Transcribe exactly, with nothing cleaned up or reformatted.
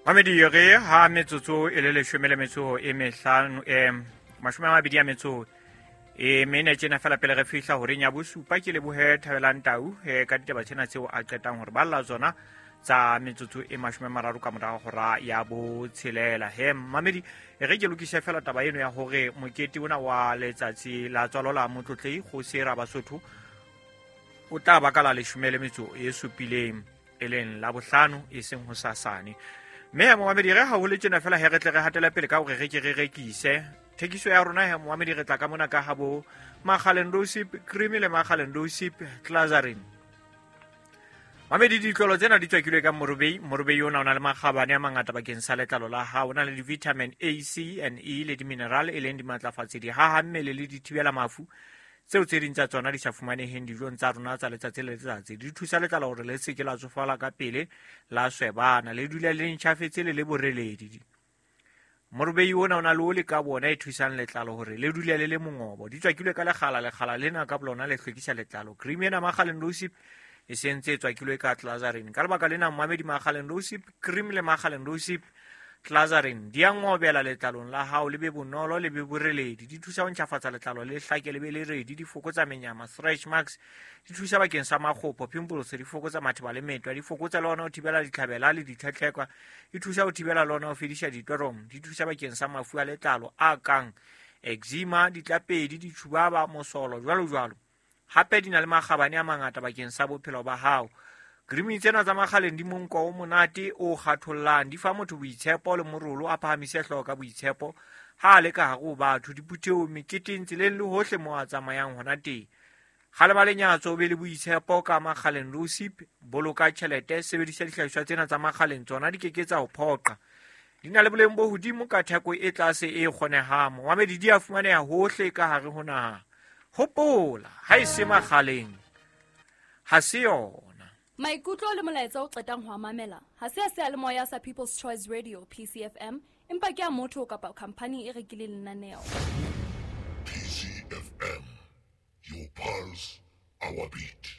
Mamedi re ha metsotso e le leshome le metso e mehlano eh mashome a mabedi a metso e mene tjena fela pele re fihla horeng ya bosupa. Ke lebohe Thabelang Tau eh, ka ditaba tsena tseo a qetang hore balla tsona tsa metsotso e mashome a mararo ka morao hora ya botshelela. He mamedi, e re ke lokise fela taba eno ya hore mokete ona wa letsatsi la tswalo la Motlotlei Kgosi Rabasotho o tla ba ka la leshome le metso e supileng, e leng la bohlano, e seng hosasane. Mme momamedi, re haholo tjena fela he re tle re hatela pele ka hore re ke re rekise thekiso ya rona. He momamedi, re tla ka mona ka habo Makgaleng Rosip Cream le Makgaleng Rosip Glazarin. Mamedi, ditlolo tsena di tswakilwe ka morobei. Morobei ona o na le makgabane a mangata bakeng sa letlalo la hao. O na le di-vitamin A, C and E le di-mineral, e leng dimatlafatsi, dihaha mmele le dithibela mafu tseo tse ding tsa tsona di sa fumaneheng dijong tsa rona tsa letsatsi le letsatsi. Di thusa letlalo hore le se ke la tsofala ka pele, la swebana, le dule le ntjhafetse le le boreledi. Morobei ona o na le oli ka bona e thusang letlalo hore le dule le le mongobo. Di tswakilwe ka lekgala, lekgala lena ka bolona le hlwekisa letlalo. Cream ena Makgaleng Rosip e sentse e tswakilwe ka Glazarin. Ka lebaka lena momamedi, Makgaleng Rosip Cream le Makgaleng Rosip Glazarin di a ngobela letlalong la hao, le be bonolo, le be boreledi. Di thusa ho ntjhafatsa letlalo, le hlake, le be le redi. Di fokotsa menyama, stretch marks. Di thusa bakeng sa makgopo, pimples. Di fokotsa matheba le metwa. Di fokotsa le hona ho thibela ditlhabela le ditlhetlhekwa. Di thusa ho thibela le hona ho fedisa ditoromo. Di thusa bakeng sa mafu a letlalo a kang eczema, ditlapedi, ditjhubaba, mosolo, jwalo jwalo. Hape di na le makgabane a mangata bakeng sa bophelo ba hao. Cream tsena tsa Makgaleng di monko o monate o kgathollang, di fa motho boitshepo le morolo, a phahamise hlooho ka boitshepo ha a le ka hare ho batho, diphuthehong, meketeng, tseleng le hohle moo a tsamayang hona teng. Kgalema lenyatso, o be le boitshepo ka Makgaleng Rosip. Boloka tjhelete, sebedisa dihlahiswa tsena tsa Makgaleng, tsona di ke ke tsa o phoqa. Di na le boleng bo hodimo ka theko e tlase e kgonehang. Momamedi, di a fumaneha hohle ka hare ho naha. Hopola, ha e se Makgaleng ha se yona. Maikutlo le molaetsa o qetang ho a mamela ha se a seyalemoya sa People's Choice Radio P C F M, empa ke a motho kapa khampani e rekileng lenaneo. P C F M, your pulse, our beat.